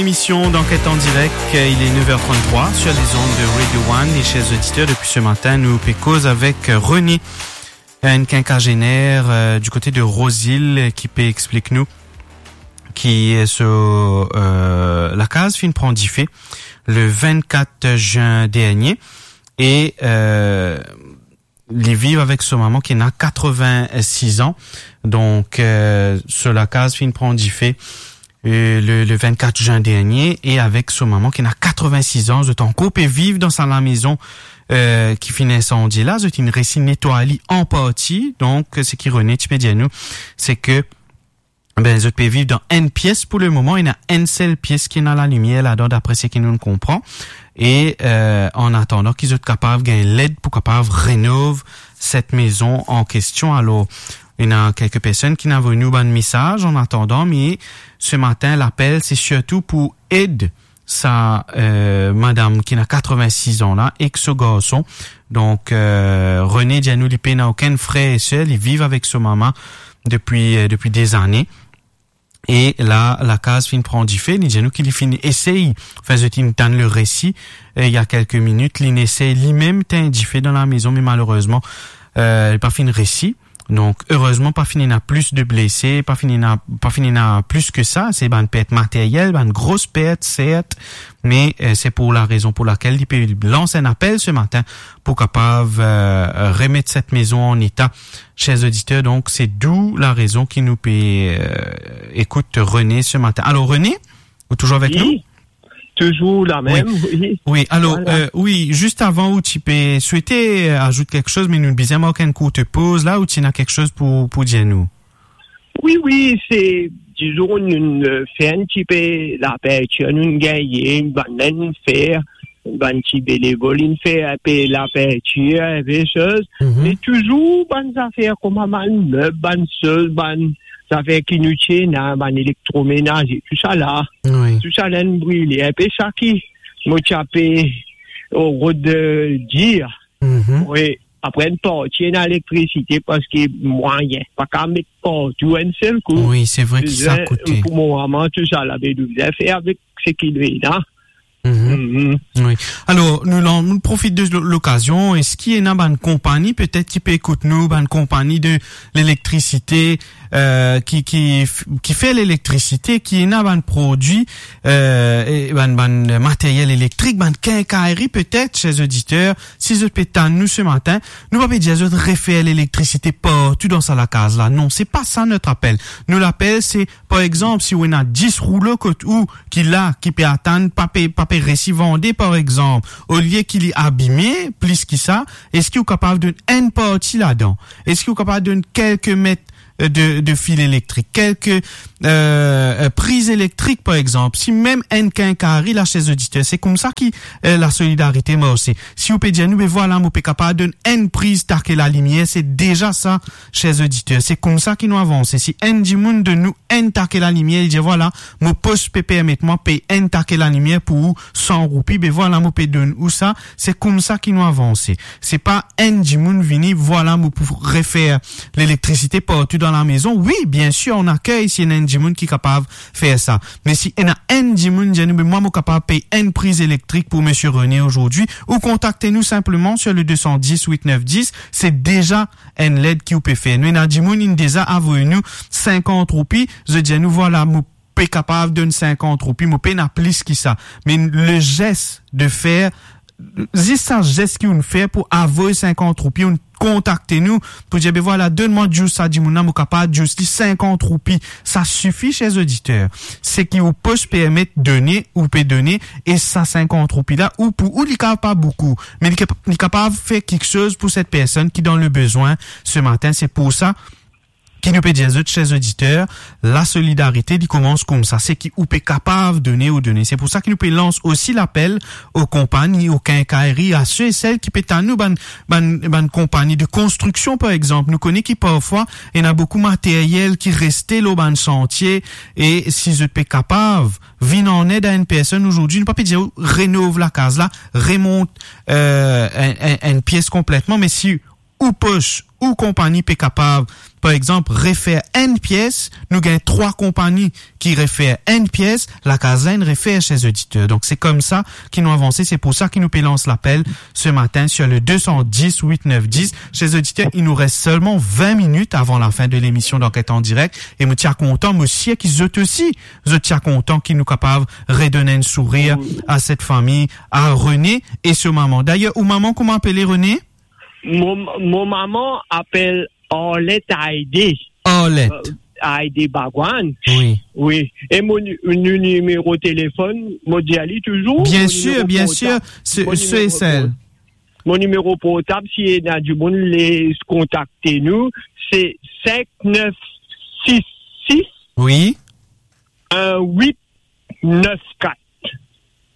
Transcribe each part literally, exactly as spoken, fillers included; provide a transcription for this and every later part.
Émission d'enquête en direct, il est neuf heures trente-trois sur les ondes de Radio One. Et chers auditeurs, depuis ce matin, nou pe koz avek René, un quinquagénaire, euh, du côté de Rose-Île, ki pe explik nou ki so, euh, lakaz finn pran dife le vingt-quatre juin dernier. E, euh, li viv avek so mama ki ena quatre-vingt-six an. Donk, euh, so lakaz finn pran dife, euh, le, le vingt-quatre juin dernier, e avek so mama ki ena quatre-vingt-six an, zot ankor pe viv dan sa lamezon, euh, ki finn insandie la, zot inn resi netway li an parti. Donk, seki René ti pe dir nou, se ke, ben, zot pe viv dan enn pies pou le moman, ena enn sel pies ki ena lalimier ladan, dapre seki nou konpran. E, euh, an atandan ki zot kapav gagn led pou kapav renov set mezon an kestion. Alor, ena kelke personn ki inn avoy nou bann mesaz an atandan, me se matin, lapel, se sirtou pou ed sa, euh, madam ki ena quatre-vingt-six an la, ek so garson. Donk, euh, René dir nou li pena okenn frer e ser, li viv avek so mama depi, euh, depi de zane. E la, lakaz finn pran dife, li dir nou ki li finn esey, anfin, zot inn tann le resi, euh, il y a quelques minutes, li inn esey limem tegn dife dan lamezon, me malerezman, euh, li pa finn resi. Donk, erezman, pa finn ena plis de blese, pa finn ena, pa finn ena plis ki sa. Se bann pert materyel, bann gro pert, sert, me, euh, se pou larezon pou lakel li pe lans enn apel se matin pou kapav, euh, remet set mezon an eta. Chers auditeurs, donk, se d'où larezon ki nou pe, euh, ekout René se matin. Alor, René, ou touzour avek nou? Wi, touzour la mem, wi. Wi, alor, euh, wi, zis avan ou ti pe swete, euh, azout kiksoz, me nou bizin mark enn kourt poz la, ou ti ena kiksoz pou, pou dir nou? Wi, wi, se, dizon, nou, euh, fer enn tipe lapertir, nou gagne, bann fer, bann ti benevol, inn fer enpe lapertir, enpe soz, me touzour bann zafer kouma bann meb, bann soz, bann zafer ki nou ti ena, bann elektromenaze, tousala. Wi. Tousala inn brile. Enpe sa ki mo ti ape, o, rod, euh, dir. Wi, apre enn parti ena elektrisite, parski mwayin pa kapav met partou enn sel kou. Wi, se vre ki sa koute. Bizin, pou mo mama, tousala, be bizin fer avek seki li ena. Wi. Alor, nou, nou profit de lo-, lokazion. Eski ena bann konpagni, petet, ki pe ekout nou, bann konpagni de lelektrisite, euh, ki, ki f-, ki fer lelektrisite, ki ena bann prodwi, euh, e bann, bann materyel elektrik, bann kinkaynri, petet, chers auditeurs, si zot pe tann nou se matin, nou pa pe dir zot refer lelektrisite partou dan sa lakaz la. Non, se pa sa not apel. Nou lapel, se, par exanp, si ou ena dis roulo kot ou, ki la, ki pe atann, pa pe, pa pe resi vande, par exanp, olie ki li abime plis ki sa, eski ou kapav donn enn parti ladan? Eski ou kapav donn kelke met, euh, de, de fil elektrik, kelke, euh, euh, priz elektrik, par exanp? Si mem enn kinkaynri la, chers auditeurs, se koumsa ki, euh, lasolidarite marse. Si ou pe dir nou, be vwala, mo pe kapav donn enn priz take lalimier, se deza sa, chers auditeurs. Se koumsa ki nou avanse. Si enn dimoun donn nou enn take lalimier, li dir, vwala, mo pos pe permet mwa pey enn take lalimier pou ou san roupi, be vwala, mo pe donn ou sa. Se koumsa ki nou avanse. Se pa enn dimoun vini, vwala, mo pou refer lelektrisite partou dan lamezon. Wi, bien sir, on akey si ena enn dimoun ki kapav fer sa. Me si ena enn dimoun dir nou, be mwa, mo kapav pey enn priz elektrik pou Monsieur René aujourd'hui, ou kontakte nou sinpleman sur le deux cent dix, huit neuf dix, se deza enn led ki ou pe fer. Nou ena dimoun inn deza avoy nou sinkant roupi, zot dir nou, vwala, mo pe kapav donn sinkant roupi, mo pena plis ki sa. Me le zes de fer, zis sa zes ki ou'nn fer pou avoy sinkant roupi, ou'nn kontakte nou pou dir, be vwala, donn mwa just sa dimoun la, mo kapav just li sinkant roupi. Sa sifi, chers auditeurs. Seki ou pos permet done, ou pe done, e sa sinkant roupi la, ou pou ou, li kapav pa boukou, me li kap-, li kapav fer kiksoz pou set personn ki dan le bezwin se matin. Se pou sa ki nou pe dir zot, chers auditeurs, lasolidarite, li koumans koumsa. Seki ou pe kapav done, ou done. Se pou sa ki nou pe lans osi lapel o konpagni, o kinkaynri, a se e sel ki pe tann nou, bann, bann, bann konpagni de konstriksion, par exanp. Nou kone ki parfwa, ena boukou materyel ki reste lor bann santie, e si zot pe kapav vinn an ed a enn personn aujourd'hui, nou pa pe dir ou renov lakaz la, remont, euh, enn, enn, enn pies konpletman, me si ou pos, ou konpagni pe kapav par exanp, refer enn pies, nou gagn trwa konpagni ki refer enn pies, lakaz la inn refer, chers auditeurs. Donk, se koumsa ki nou avanse, se pou sa ki nou pe lans lapel se matin sur le deux cent dix huit neuf dix. Chers auditeurs, il nous reste seulement vingt minutes avant la fin de l'émission d'Enquête en direct. E mo ti a kontan, mo sir ki zot osi, zot ti a kontan ki nou kapav redonn enn sourir a set fami, a René e so mama. Dayer, ou mama, kouma apele, René? Mo, mo mama apel Arlette Aide. Arlette. Euh, Aide Bagwan. Wi. Wi. E mo ni-, nou nimero telefonn, mo dir li touzour, bien sûr, bien sûr, se, se e sel. Mo nimero portab, si ena dimoun le kontakte nou, se cinq neuf six six, wi, un huit neuf quatre.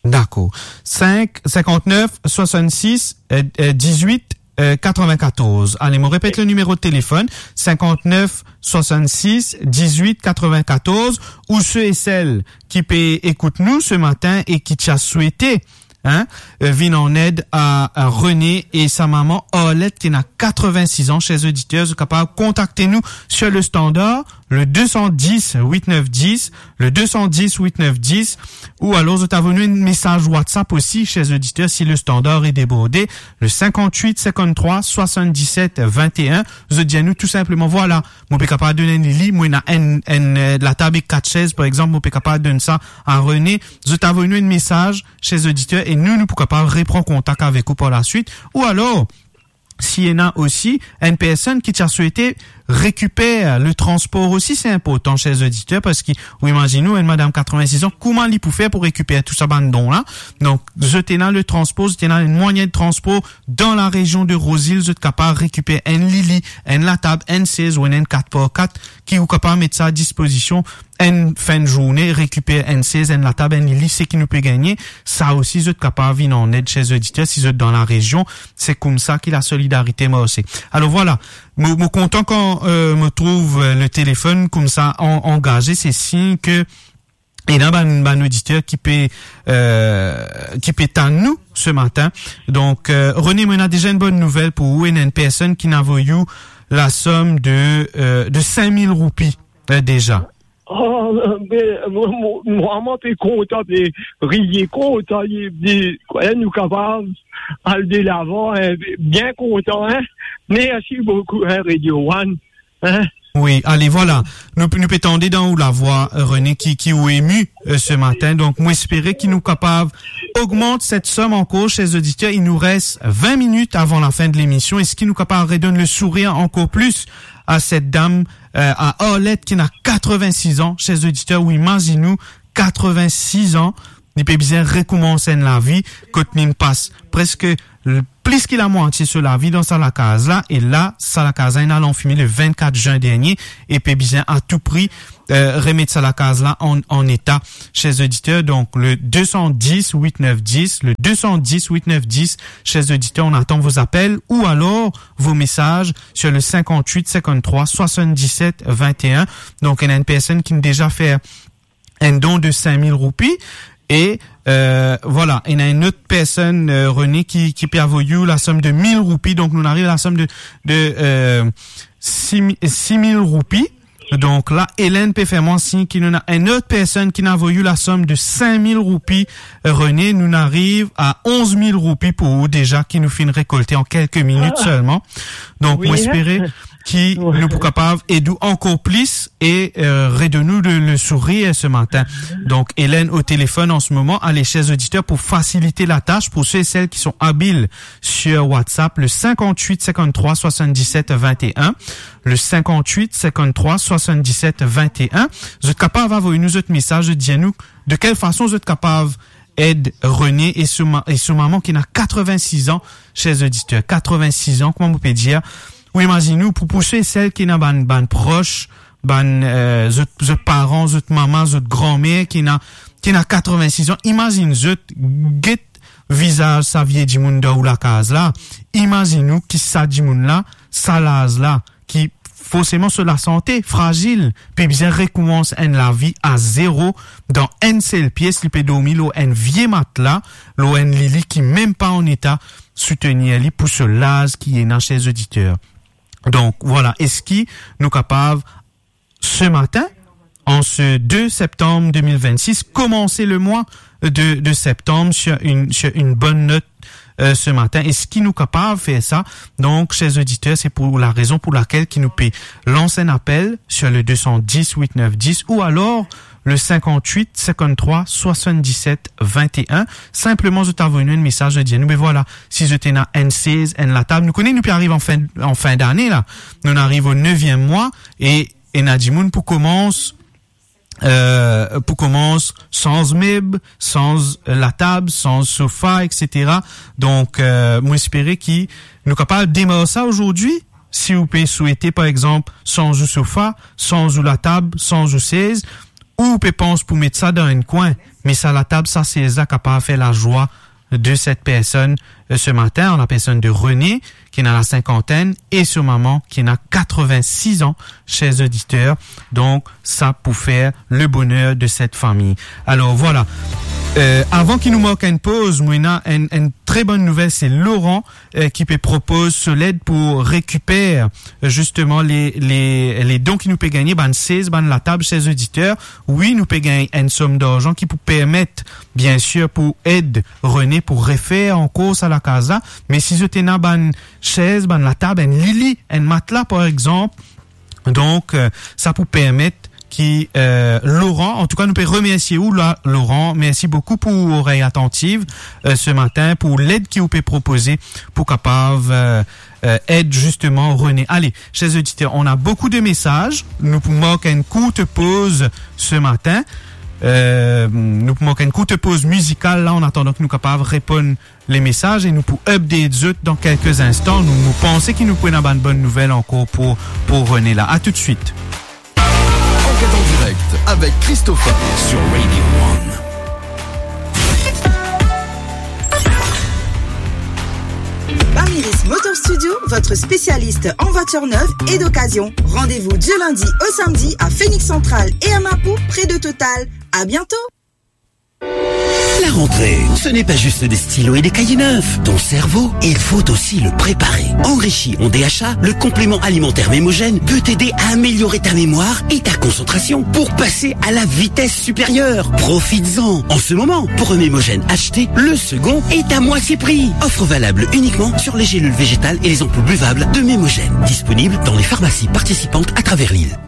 Dakor. Cinq, cinquante-neuf, soixante-six, euh, euh, dix-huit, euh, quatre-vingt-quatorze. Ale, mo repet le nimero telefonn, cinquante-neuf, soixante-six, dix-huit, quatre-vingt-quatorze, ou se e sel ki pe ekout nou se matin e ki ti a swete, hein, euh, vinn an ed a, a René e sa mama Arlette ki ena quatre-vingt-six an, chers auditeurs, zot kapav kontakte nou sur le standard, le deux cent dix huit neuf dix, le deux cent dix huit neuf dix, ou alors zot avoy nou enn mesaz WhatsApp osi, chers auditeurs, si le standard est débordé, le cinquante-huit cinquante-trois soixante-dix-sept vingt et un, zot dir nou tou sinpleman, vwala, mo pe kapav donn enn lili, mo ena enn, enn, euh, latab ek kat sez, par exanp, mo pe kapav donn sa a René. Zot avoy nou enn mesaz, chers auditeurs, e nou, nou pou kapav repran kontak avek ou par la suite, ou alors, si ena osi enn personn ki ti a swete rekiper le transpor osi, se inportan, chers auditeurs, parski, ou imazinn ou, enn madam quatre-vingt-six an, kouma li pou fer pou rekiper tou sa bann don la? Donk, zot ena le transpor, zot ena enn mwayin de transpor dan la rezion de Rosehill, zot kapav rekiper enn lili, enn latab, enn sez ou enn, enn kat par kat, ki ou kapav met sa a dispozision enn fin de zourne, rekiper enn sez, enn latab, enn lili, seki nou pe gagne, sa osi zot kapav vinn an ed, chers auditeurs, si zot dan la rezion, se koumsa ki lasolidarite marse. Alor vwala, mo, mo kontan kan, euh, mo trouv, euh, le telefonn koumsa an-, angaze, se sign ke ena bann, bann oditer ki pe, euh, ki pe tann nou se matin. Donk, euh, René, mo ena deza enn bonn nouvel pou ou, ena enn personn ki inn avoy ou lasom de, euh, de cinq mille roupi, euh, deza. Oh, be, mo, mo, mwa, mo pe kontan, pe riye kontan, li, li, kwa, nou kapav al delavan, hein, bien kontan, hein. Mersi boukou, hein, Radio One, hein. Wi, ale, vwala. Nou, nou pe tande dan ou lavwa, euh, René, ki, ki ou emi, euh, se matin. Donk, mo espere ki nou kapav ogmant set som ankor, chers auditeurs. Il nous reste vingt minutes avant la fin de l'émission. Eski nou kapav redonn le sourir ankor plis a set dam, euh, a Arlette ki ena quatre-vingt-six an, chers auditeurs, ou imazinn ou, quatre-vingt-six an, li pe bizin rekoumans enn lavi, kot li'nn pas preske l-, plis ki lamwatie so lavi dan sa lakaz la, e la, sa lakaz la inn al anfime le vennkat zin dernie, e pe bizin a tou pri, euh, remet sa lakaz la an, an eta, chers auditeurs. Donc, le deux cent dix huit neuf dix, le deux cent dix huit neuf dix, chers auditeurs, on attend vos appels ou alors vos messages sur le cinquante-huit cinquante-trois soixante-dix-sept vingt et un. Donk, ena enn personn ki'nn deza fer enn don de cinq mille roupi. E, euh, vwala, ena enn lot personn, euh, René, ki, ki pe avoy ou lasom de mil roupi. Donk, nou'nn ariv a lasom de, de, euh, six mille, six mille roupi. Donk la, Hélène pe fer mwa sign ki nou ena enn lot personn ki'nn avoy ou lasom de cinq mille roupi, euh, René. Nou'nn ariv a onze mille roupi pou ou deza ki nou finn rekolte an kelke minit selman. Donk, wi, mo espere ki nou pou kapav ed ou ankor plis e, euh, redonn ou le, le sourir se matin. Donk, Hélène o telefonn an se moman. Ale, chers auditeurs, pou fasilite latas, pou se e sel ki son abil sur WhatsApp, le cinquante-huit cinquante-trois soixante-dix-sept vingt et un, le cinquante-huit cinquante-trois soixante-dix-sept vingt et un, zot kapav avoy nou zot mesaz, zot dir nou de kel fason zot kapav ed René e so ma-, e so mama ki ena quatre-vingt-six an, chers auditeurs, quatre-vingt-six an, kouma mo pe dir, ou imazinn ou, pou, pou se e sel ki ena bann, bann pros, bann, euh, zot, zot paran, zot mama, zot granmer ki ena, ki ena quatre-vingt-six an, imazinn zot, get vizaz sa vie dimoun dan ou lakaz la, imazinn ou ki sa dimoun la, sa laz la, ki forseman so lasante frazil, pe bizin rekoumans enn lavi a zero dan enn sel pies, li pe dormi lor enn vie matla, lor enn lili ki mem pa an eta soutenir li pou so laz ki ena, chers auditeurs. Donk, vwala, eski nou kapav, se matin, an se de septanm de mil vennsis, komanse le mwa de, de septanm sur une, sur une bonne note, euh, se matin? Eski nou kapav fer sa? Donk, cher oditer, se pou la rezon pou lakel ki nou pe lans enn apel sur le deux cent dix huit neuf dix ou alor le cinquante-huit cinquante-trois soixante-dix-sept vingt et un. Sinpleman, zot avoy nou enn mesaz, zot dir nou, be vwala, si zot ena enn sez, enn latab, nou kone nou pe ariv an fin, an fin dane la, nou ariv o neviem mwa, e ena dimoun pou koumans, euh, pou koumans sanz meb, sanz latab, sanz sofa, et cetera. Donk, euh, mo espere ki nou kapav demar sa azordi. Si ou pe swete, par exanp, sanz ou sofa, sanz ou latab, sanz ou sez, ou pe pans pou met sa dan enn kwin, me sa latab, sa sez la kapav fer lazwa de set personn, euh, se matin, an la personn de René, ki ena la sinkantenn, e so mama, ki ena katrevin-sis an, cher oditer. Donk, sa pou fer le boner de set fami. Alor, vwala. Euh, avan ki nou mark enn poz, mo ena enn, enn tre bonn nouvel, se Laurent, euh, ki pe propoz so led pou rekiper, euh, zisteman, le, le, le don ki nou pe gagne, bann sez, bann latab, cher oditer. Wi, nou pe gagn enn som darzan ki pou permet, biensir, pou ed René pou refer ankor sa lakaz la. Me si zot ena bann sez, bann latab, enn lili, enn matla, par exanp, donk, euh, sa pou permet ki, euh, Laurent, an tou ka, nou pe remersie ou la, Laurent. Mersi boukou pou ou orey atantiv, euh, se matin, pou led ki ou pe propoze pou kapav, euh, euh, ed zisteman René. Ale, cher oditer, on a beaucoup de messages. Nou pou mark enn kourt poz se matin. Euh, nou pou mark enn kourt poz mizikal la, an atandan ki nou kapav reponn le mesaz e nou pou update zot dan kelke instan. Nou, nou panse ki nou pou ena bann bonn nouvel ankor pou, pou René la. A toutswit. Enquête en direct avec Christopher sur Radio One. Bamiris Motor Studio, votre spécialiste en voitures neuves et d'occasion. Rendez-vous du lundi au samedi à Phoenix Central et à Mapou, près de Total. À bientôt. La rentrée, ce n'est pas juste des stylos et des cahiers neufs. Ton cerveau, il faut aussi le préparer. Enrichis en D H A le complément alimentaire Mémogène peut t'aider à améliorer ta mémoire et ta concentration pour passer à la vitesse supérieure. Profites-en. En ce moment, pour un Mémogène acheté, le second est à moitié prix. Offre valable uniquement sur les gélules végétales et les ampoules buvables de Mémogène. Disponible dans les pharmacies participantes à travers l'île.